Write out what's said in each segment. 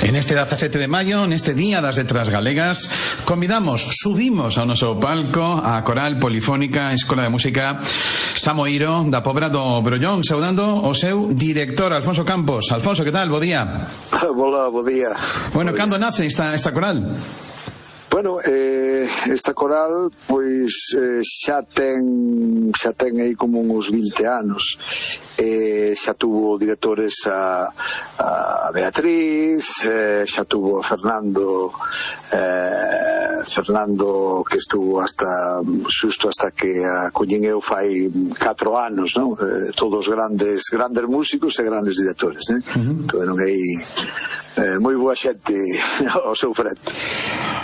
En este 17 de maio, neste Día das Letras Galegas, subimos ao noso palco a Coral Polifónica Escola de Música Samoiro da Pobra do Brollón, saudando o seu director, Alfonso Campos. Alfonso, que tal? Bo día. Hola, bo día. Bueno, cando nace esta coral? Bueno, esta coral pois xa ten aí como uns 20 anos. Xa tuvo directores a Beatriz, xa tuvo a Fernando que estuvo xusto hasta que a collín eu fai 4 anos, non? Todos grandes músicos e grandes directores, Tuveron aí moi boa xente ao seu frente.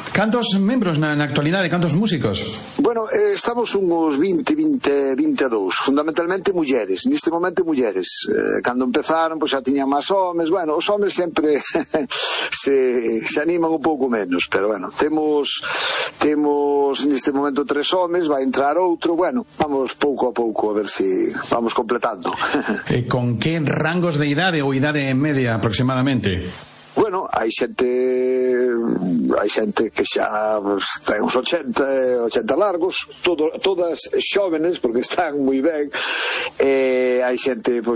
Cantos membros na actualidade, cantos músicos? Bueno, estamos uns 22, fundamentalmente mulleres, neste momento mulleres. Cando empezaron, pois xa tiñan máis homes, bueno, os homes sempre se animan un pouco menos, pero bueno, temos neste momento 3 homes, vai entrar outro, bueno, vamos pouco a pouco a ver se vamos completando. E con que rangos de idade ou idade media aproximadamente? Bueno, hai xente que xa ten uns 80 largos, todas xóvenes, porque están moi ben. Hai xente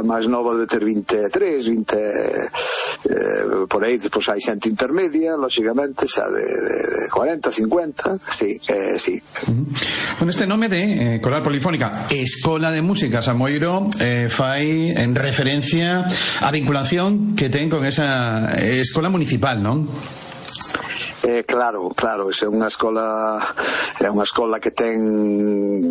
máis nova de ter 23, 20 por aí, depois hai xente intermedia, lógicamente, xa de 40, 50, sí. Bueno, este nome de Coral Polifónica Escola de Música Samoiro fai en referencia á vinculación que ten con esa escola municipal, non? Claro, é unha escola que ten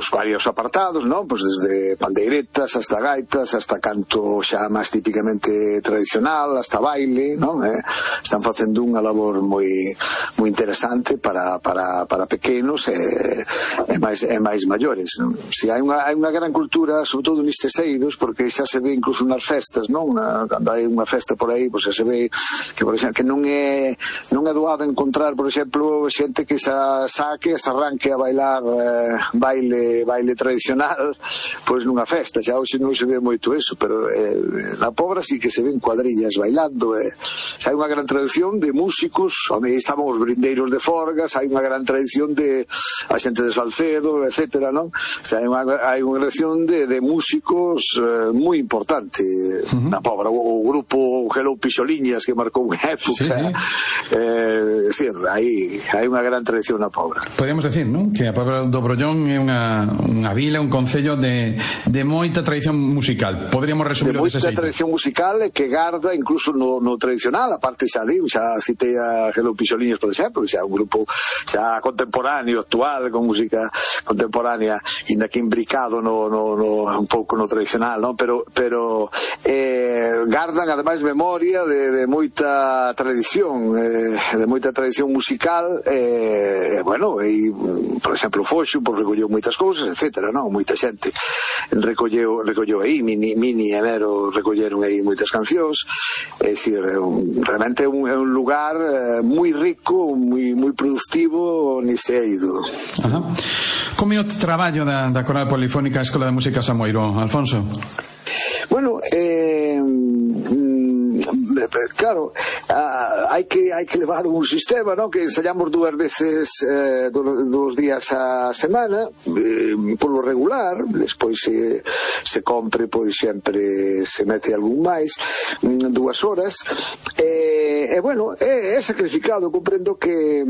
varios apartados, non? Desde pandeiretas hasta gaitas, hasta canto xa máis típicamente tradicional, hasta baile, non? Están facendo unha labor moi interesante para pequenos e máis maiores, non? Si hai unha gran cultura, sobre todo nestes eidos, porque xa se ve incluso nas festas, non? Cando hai unha festa por aí, xa se ve que, por exemplo, que non é doado encontrar, por exemplo, xente que se arranque a bailar baile tradicional pois nunha festa. Xa hoxe non se ve moito eso, pero na Pobra sí que se ven cuadrillas bailando. Xa hai unha gran tradición de músicos, estaban os brindeiros de Forgas, hai unha gran tradición de a xente de Salcedo, etcétera, non? Xa hai unha tradición de músicos moi importante na Pobra. O grupo Hello Pixoliñas, que marcou unha época. Sí, hai unha gran tradición na Pobra. Podríamos decir, non? Que a Pobra do Brollón é unha vila, un concello de moita tradición musical. Podríamos resumirlo dese xeito. De moita tradición musical que garda incluso no tradicional, a parte xa citei a Hello Pixoliñas, por exemplo, que xa é un grupo xa contemporáneo, actual, con música contemporánea, inda que imbricado un pouco no tradicional, non? Pero gardan ademais memoria de moita tradición musical, bueno, e, por exemplo, Foxo recolleu moitas cousas, etcétera, non? Moita xente recolleu aí, Mini e Nero recolleron aí moitas cancións. É dicir, realmente é un lugar moi rico, moi productivo nese eido. Como é o traballo da Coral Polifónica Escola de Música Samoiro, Alfonso? Bueno, claro, hai que levar un sistema, non? Que ensayamos 2 veces 2 días a semana, polo regular, despois se compre, pois sempre se mete algún máis, 2 horas, e bueno, é sacrificado. Comprendo que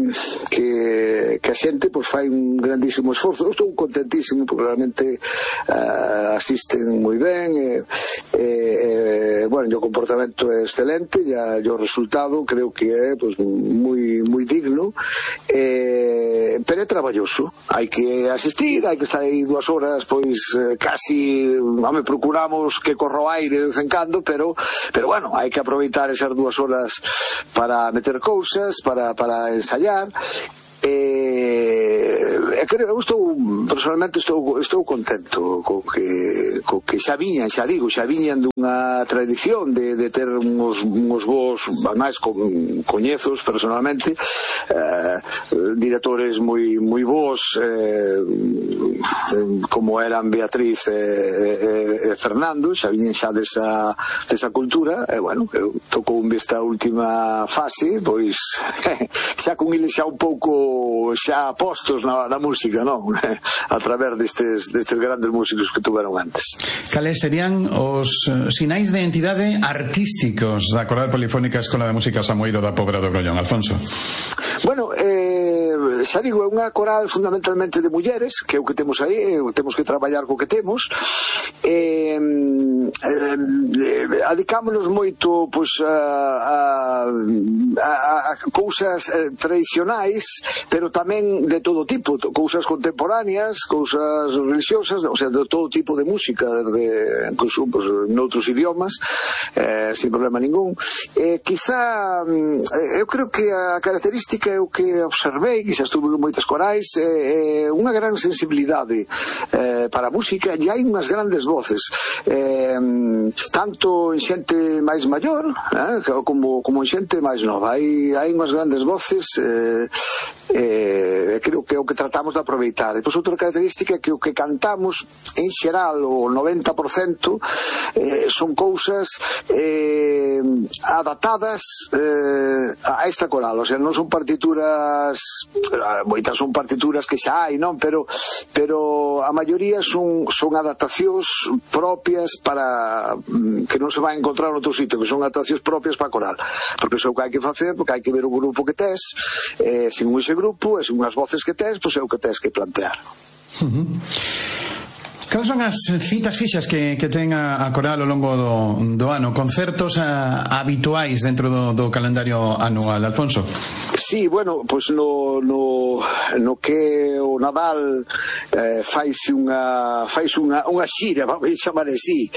a xente pois fai un grandísimo esforzo. Eu estou contentísimo porque realmente asisten moi ben, bueno, o comportamento é excelente, e o resultado creo que é pois moi digno, pero é traballoso. Hai que asistir, hai que estar aí 2 horas, pois casi, procuramos que corra o aire de vez en cando, pero bueno, hai que aproveitar esas 2 horas para meter cousas, para ensayar. eu personalmente estou contento co que xa viñan dunha tradición de ter uns vos, máis coñezos personalmente, directores moi vos, como eran Beatriz e Fernando, xa viñen xa desa cultura, e bueno, eu tocou esta última fase, pois xa con eles xa un pouco xa postos na música, non? A través destes grandes músicos que tuveron antes. Cales serían os sinais de identidade artísticos da Coral Polifónica Escola de Música Samueiro da Pobra do Grollón, Alfonso? Bueno, xa digo, é unha coral fundamentalmente de mulleres, que é o que temos aí, temos que traballar co que temos, adicámonos moito pois a cousas tradicionais, pero tamén de todo tipo, cousas contemporáneas, cousas religiosas, o sea, de todo tipo de música, incluso pues, noutros idiomas, sin problema ningún. Quizá eu creo que a característica é o que observei, que xa estuve en moitas corais, unha gran sensibilidade para a música, e hai unhas grandes voces, tanto en xente máis maior como en xente máis nova. Hai unhas grandes voces, creo que é o que tratamos de aproveitar. Depois outra característica é que o que cantamos en xeral, o 90%, son cousas adaptadas a esta coral, o sea, non son partituras, moitas son partituras que xa hai, non? Pero a maioría son adaptacións propias para que non se vai encontrar en outro sitio, que son adaptacións propias para a coral, porque iso é o que hai que facer, porque hai que ver o grupo que tes, según ese grupo, e según as voces que tes, pois é o que tes que plantear. Cales son as citas fixas que ten a coral ao longo do ano? Concertos habituais dentro do calendario anual, Alfonso? Sí, bueno, pois no que o Nadal faise unha xira, vamos chamar así,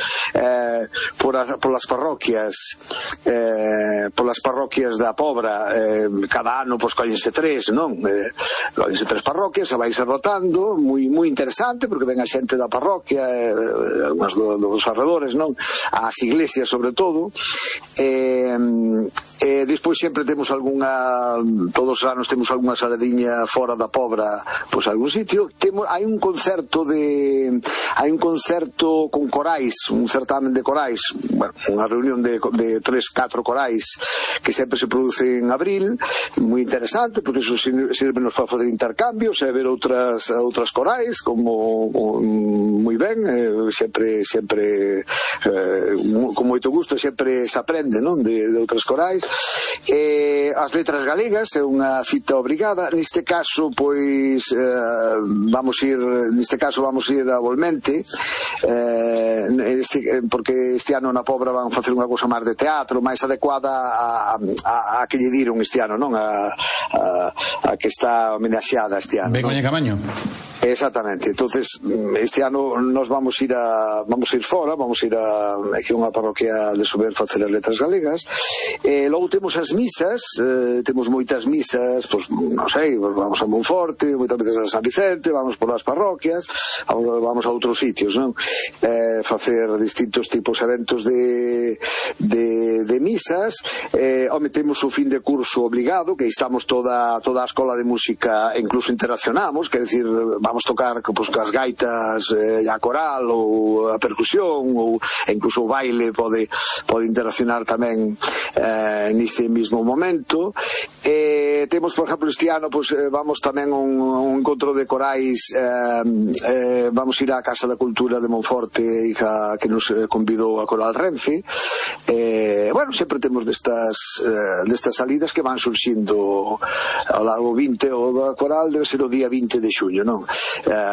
polas parroquias da Pobra. Cada ano pois collense 3, non? Collense 3 parroquias, e vaise rotando, moi interesante, porque ven a xente da parroquia, algunhas dos arredores, non? As iglesias sobre todo, despois sempre temos todos os anos temos algunha saladiña fora da Pobra, pois algún sitio. Hai un concerto con corais, un certamen de corais, bueno, unha reunión de 3-4 corais que sempre se produce en abril, moi interesante, porque iso sirve nos para facer intercambios e ver outras corais, como moi ben, sempre con moito gusto, sempre se aprende, non, de outras corais. As letras galegas é unha cita obrigada. Neste caso pois vamos ir a Volmente, porque este ano na Pobra van facer unha cousa máis de teatro, máis adecuada a que lle diron este ano, non? A que está homenaxeada este ano. Begoña Camaño. Exactamente. Entonces este ano nos vamos ir fora, vamos ir aquí a unha parroquia de Sober facer as letras galegas. Logo temos as misas, temos moitas misas, pois non sei, vamos a Monforte, moitas veces a San Vicente, vamos por as parroquias, vamos a outros sitios, non? Facer distintos tipos de eventos de misas. Temos o fin de curso obligado, que estamos toda a escola de música, incluso interaccionamos, quer decir, vamos tocar pues, as gaitas a coral ou a percusión, ou incluso o baile pode interaccionar tamén nese mismo momento. Temos, por exemplo, este ano pues, vamos tamén a un encontro de corais, vamos ir á Casa da Cultura de Monforte, que nos convidou a Coral Renfe. Bueno, sempre temos destas salidas que van surxindo ao largo 20, o coral debe ser o día 20 de xuño, non?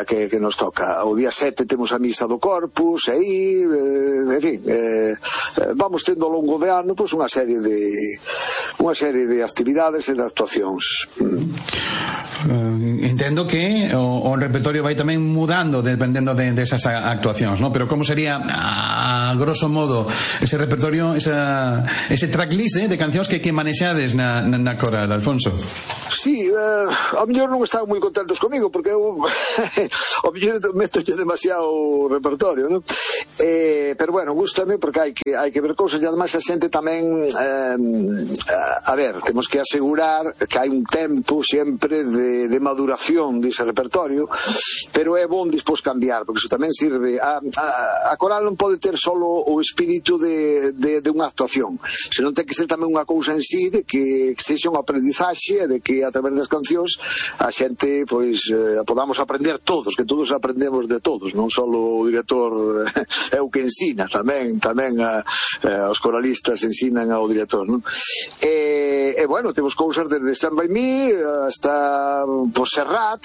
Que nos toca. O día 7 temos a misa do Corpus, e aí, en fin, vamos tendo ao longo de ano pues, unha serie de actividades e de actuacións. Entendo que o repertorio vai tamén mudando dependendo desas actuacións, ¿no? Pero como sería a grosso modo ese repertorio, ese tracklist de cancións que manexades na coral, Alfonso? Sí, ao mellor non están moi contentos comigo porque eu ao mellor metolle demasiado repertorio, non? Pero bueno, gústame porque hai que ver cousas e ademais a xente tamén a ver, temos que asegurar que hai un tempo sempre de maduración dese repertorio, pero é bon despois cambiar, porque iso tamén sirve a coral non pode ter solo o espírito de unha actuación, senón ten que ser tamén unha cousa en sí de que sexa unha aprendizaxe, de que a través das cancións a xente pois podamos aprender todos, que todos aprendemos de todos, non só o director é o que ensina, tamén os coralistas ensinan ao director, non? E bueno, temos cousas desde Stand By Me hasta Serrat,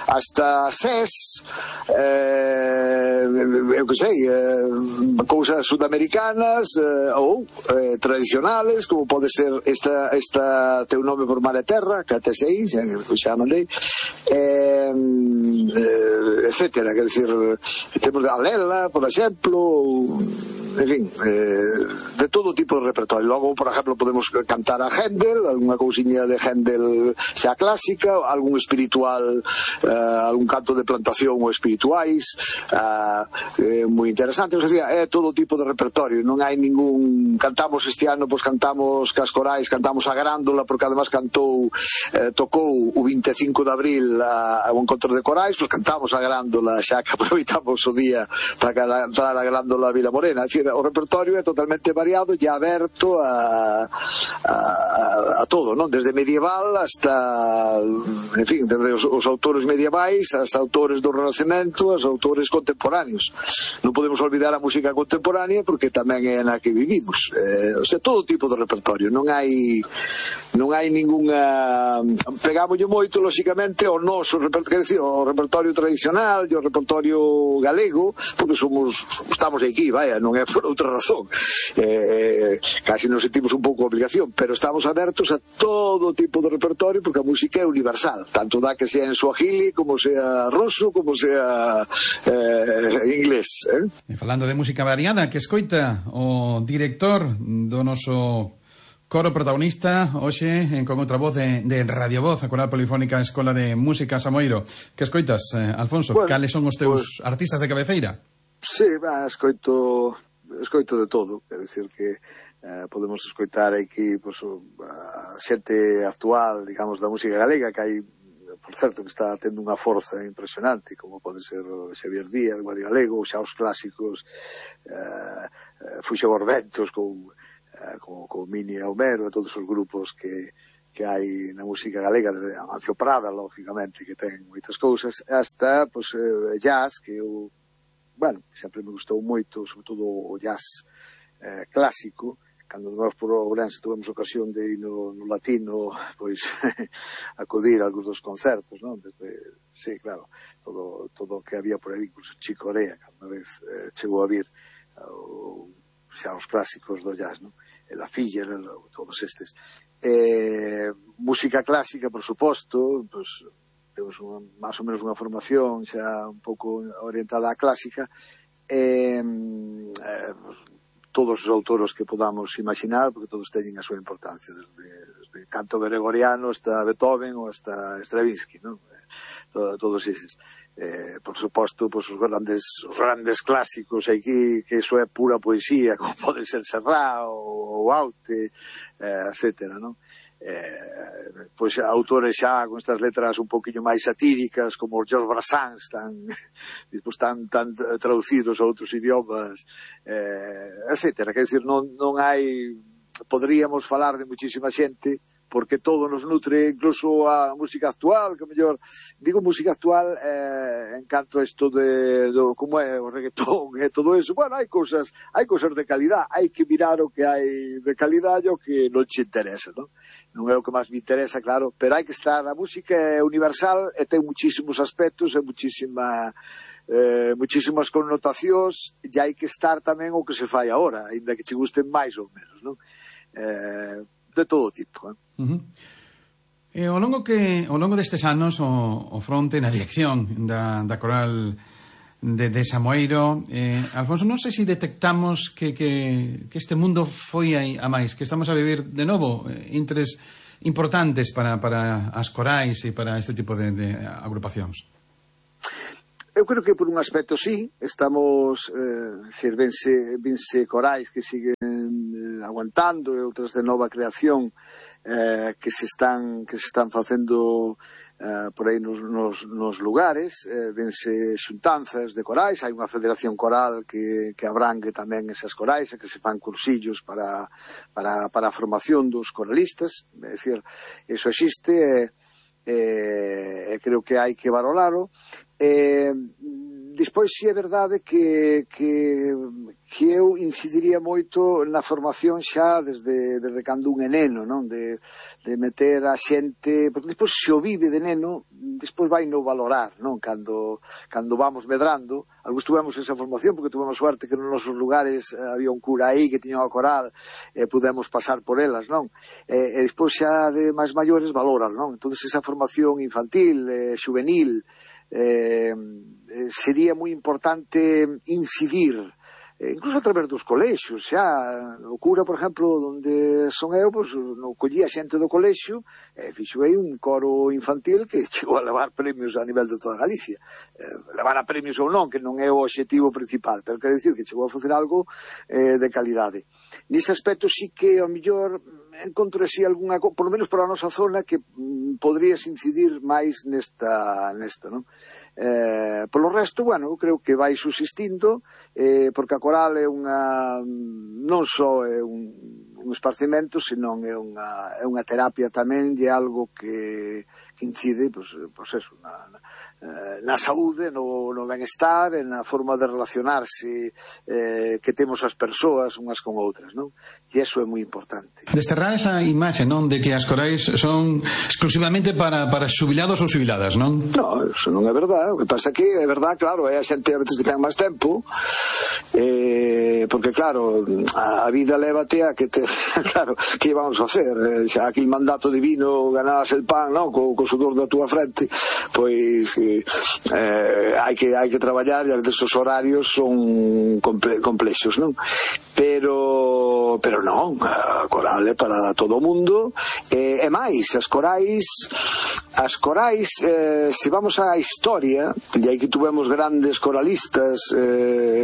hasta SES, eu que sei, cousas sudamericanas ou tradicionales, como pode ser esta Teu nome por mar e terra, que até sei, xa mandei, etcétera, quer dizer, temos a Lela, por exemplo, en fin, de todo tipo de repertorio. Logo, por exemplo, podemos cantar a Händel, algunha cousiña de Händel xa clásica, algún espiritual, algún canto de plantación ou espirituais, moi interesante. É todo tipo de repertorio, non hai ningún. Cantamos este ano, pois cantamos cas corais, cantamos a Grándola, porque además tocou o 25 de abril ao encontro de corais, pois cantamos a Grándola, xa que aproveitamos o día para cantar a Grándola Vila Morena. É dicir, o repertorio é totalmente variado e aberto a todo, non? Desde medieval hasta, en fin, desde os autores medievais hasta autores do Renacemento, os autores contemporáneos. Non podemos olvidar a música contemporánea porque tamén é na que vivimos. O sea, todo tipo de repertorio. Non hai ningunha. Pegámoslle moito, lóxicamente, ao noso repertorio, quer dizer, o repertorio tradicional e o repertorio galego, porque estamos aquí, vaya, non é por outra razón, casi nos sentimos un pouco obligación, pero estamos abertos a todo tipo de repertorio porque a música é universal, tanto dá que sea en suajili como sea ruso, como sea inglés. E falando de música variada, que escoita o director do noso coro protagonista hoxe con outra voz de Radio Voz, a Coral Polifónica Escola de Música Samoiro. Que escoitas, Alfonso? Bueno, cales son os teus artistas de cabeceira? Sí, escoito de todo, quer dizer que podemos escoitar aquí pues, a xente actual, digamos, da música galega, que hai, por certo, que está tendo unha forza impresionante, como pode ser Xavier Díaz, Guadi Galego, xa os clásicos, Fuxo Borbentos, con Mini e Homero, e todos os grupos que hai na música galega, desde Amancio Prada, lógicamente, que ten moitas cousas, hasta pues, jazz, que eu sempre me gustou moito, sobre todo o jazz clásico. Cando nós por Ourense tivemos ocasión de ir no Latino, pois acudir a algúns dos concertos, non? Sí, claro, todo o que había por aí, incluso Chico Corea, que unha vez chegou a vir xa os clásicos do jazz, non? La Filler, todos estes. Música clásica, por suposto, pois temos máis ou menos unha formación xa un pouco orientada á clásica, todos os autores que podamos imaginar, porque todos teñen a súa importancia, desde canto gregoriano hasta Beethoven ou hasta Stravinsky, non? Todos eses. Por suposto, pues, os grandes clásicos aquí, que iso é pura poesía, como pode ser Serrat ou Aute, etcétera, non? Pois autores xa con estas letras un poquinho máis satíricas, como os Georges Brassens, tan traducidos a outros idiomas, etcétera. Quer dizer, non hai, poderíamos falar de muchísima xente, porque todo nos nutre, incluso a música actual, que mellor, digo música actual en canto a isto de como é o reggaetón e todo eso. Bueno, hai cousas de calidad, hai que mirar o que hai de calidad e o que non te interesa, non? Non é o que máis me interesa, claro, pero hai que estar, a música é universal e ten muchísimos aspectos e muchísimas connotacións, e hai que estar tamén o que se fai agora, ainda que che gusten máis ou menos, non? De todo tipo, Uh-huh. Ao longo destes anos o fronte na dirección da coral de Samoeiro, Alfonso, non sei se detectamos que este mundo foi a máis, que estamos a vivir de novo intres importantes para as corais e para este tipo de agrupacións. Eu creo que por un aspecto sí, estamos, vense corais que siguen aguantando e outras de nova creación que se están facendo por aí nos lugares, vense xuntanzas de corais, hai unha federación coral que abrangue tamén esas corais e que se fan cursillos para a formación dos coralistas, é dicir, iso existe e creo que hai que valoralo. Despois si é verdade que eu incidiría moito na formación xa desde cando un é neno, non? De meter a xente, porque despois se o vive de neno, despois vai no valorar, non? Cando vamos medrando, algúns tuvemos esa formación porque tuvemos suerte que nos nosos lugares había un cura aí que tiña unha coral e pudemos pasar por elas, non? E despois xa de máis maiores valoran, non? Entón esa formación infantil, juvenil, sería moi importante incidir incluso a través dos colexios. Xa o cura, por exemplo, onde son eu, pois, no collía xente do colexio e fixo aí un coro infantil que chegou a levar premios a nivel de toda Galicia. Levar a premios ou non, que non é o obxectivo principal, pero quero dicir que chegou a facer algo de calidade. Nese aspecto sí que ao mellor encontro así algunha, por lo menos para a nosa zona, que podrías incidir máis nesta, non? Polo resto, bueno, eu creo que vai subsistindo, porque a coral é unha, non só é un esparcimento, senón é unha terapia tamén, e algo que incide, pois eso, na saúde, no benestar, na forma de relacionarse que temos as persoas unhas con outras, non? E iso é moi importante. Desterrar esa imaxe, non, de que as corais son exclusivamente para xubilados ou xubiladas, non? Non, eso non é verdade. O que pasa que é verdade, claro, hai a xente a veces que ten máis tempo, porque claro, a vida lévate a que claro, que vamos a hacer? Xa aquel mandato divino, ganabas el pan, non, co sudor da túa frente, pois hai que traballar, e a veces os horarios son complexos, non? Pero non, a coral é para todo o mundo, e máis, as corais, se vamos á historia, e aí que tuvemos grandes coralistas,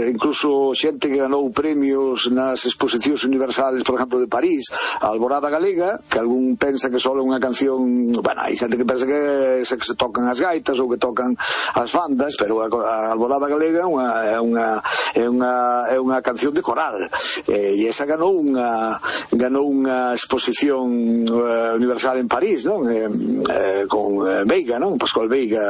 incluso xente que ganou premios nas exposicións universales, por exemplo, de París, a Alborada Galega, que algún pensa que só é unha canción, bueno, hai xente que pensa que se tocan as gaitas ou que tocan as bandas, pero a Alborada Galega é unha canción de coral, e esa ganou unha exposición universal en París, non? Con Veiga, non? Pascual Veiga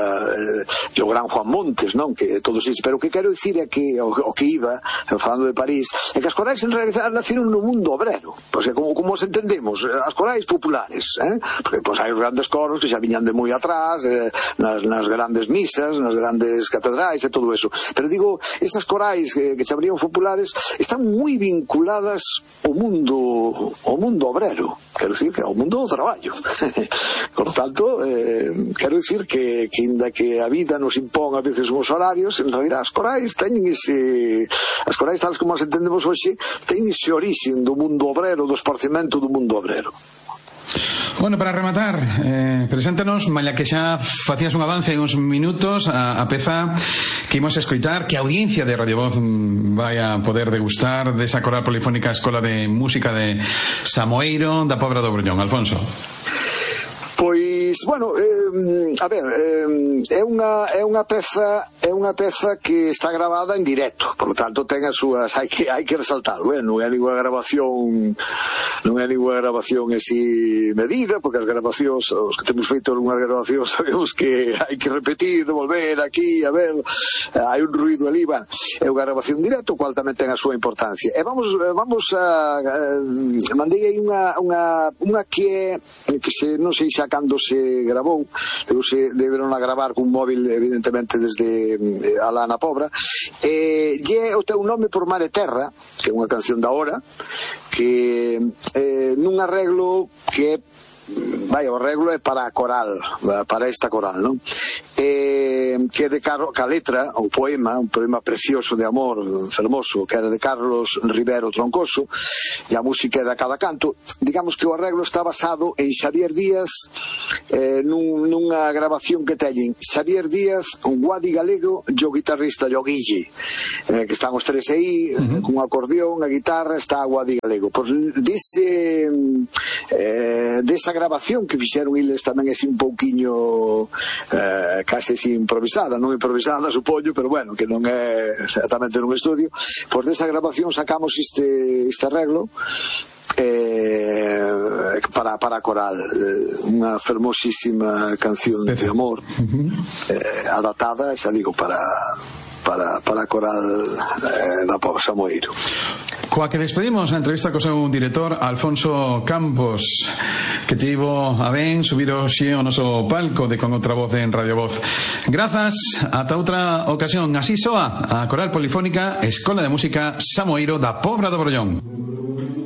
e o gran Juan Montes, non? Que todos isto, pero o que quero dicir é que o que iba falando de París é que as corais en realidad naceron no mundo obrero, pois é como os entendemos, as corais populares, porque pois hai os grandes coros que xa viñan de moi atrás, nas grandes misas, nas grandes catedrais e todo eso, pero digo, estas corais que chamarían populares están moi vinculadas ao mundo obrero, quero dicir que ao mundo do traballo. Por tanto, quero dicir que inda que a vida nos impón a veces uns horarios, en realidad as corais teñen as corais tales como as entendemos hoxe, teñen ese orixen do mundo obrero, do esparcimento do mundo obrero. Bueno, para rematar, preséntanos, malla que xa facías un avance en uns minutos, a peza que imos escoitar, que a audiencia de Radio Voz vai a poder degustar desa coral polifónica Escola de Música de Samoeiro da Pobra do Broñón. Alfonso. Pois, bueno, a ver, é unha peza que está grabada en directo, por lo tanto ten as súas, hai que resaltalo, non é ninguna grabación así medida, porque as grabacións, os que temos feito algunhas grabacións, sabemos que hai que repetir, volver aquí, a ver, hai un ruido ali, é unha grabación directo, cual tamén ten a súa importancia. E vamos a mandei aí unha que non sei xa cando se grabou, deberon a gravar cun móvil evidentemente desde alá na Pobra, e é o teu nome por mar e terra, que é unha canción da hora, que nun arreglo que é vai, o arreglo é para a coral, para esta coral, non? Que de ca letra, o poema, un poema precioso de amor, fermoso, que era de Carlos Rivero Troncoso, e a música é de cada canto. Digamos que o arreglo está basado en Xavier Díaz, nunha grabación que teñen Xavier Díaz, un Guadi Galego e o guitarrista Yoguille, que están os tres aí, con un acordeón, a guitarra, está a Guadi Galego. Por desa grabación que fixeron eles tamén é un pouquiño case improvisada, non improvisada supoño, pero bueno, que non é exactamente nun estudio. Por desa grabación sacamos este arreglo para a coral, unha fermosísima canción de amor, adaptada, xa digo, para a coral da Pobo Samoeiro. Coa que despedimos a entrevista co seu director Alfonso Campos, que tivo a ben subir hoxe ao noso palco de Con Outra Voz en Radio Voz. Grazas, ata outra ocasión. Así soa a Coral Polifónica Escola de Música Samoeiro da Pobra do Brollón.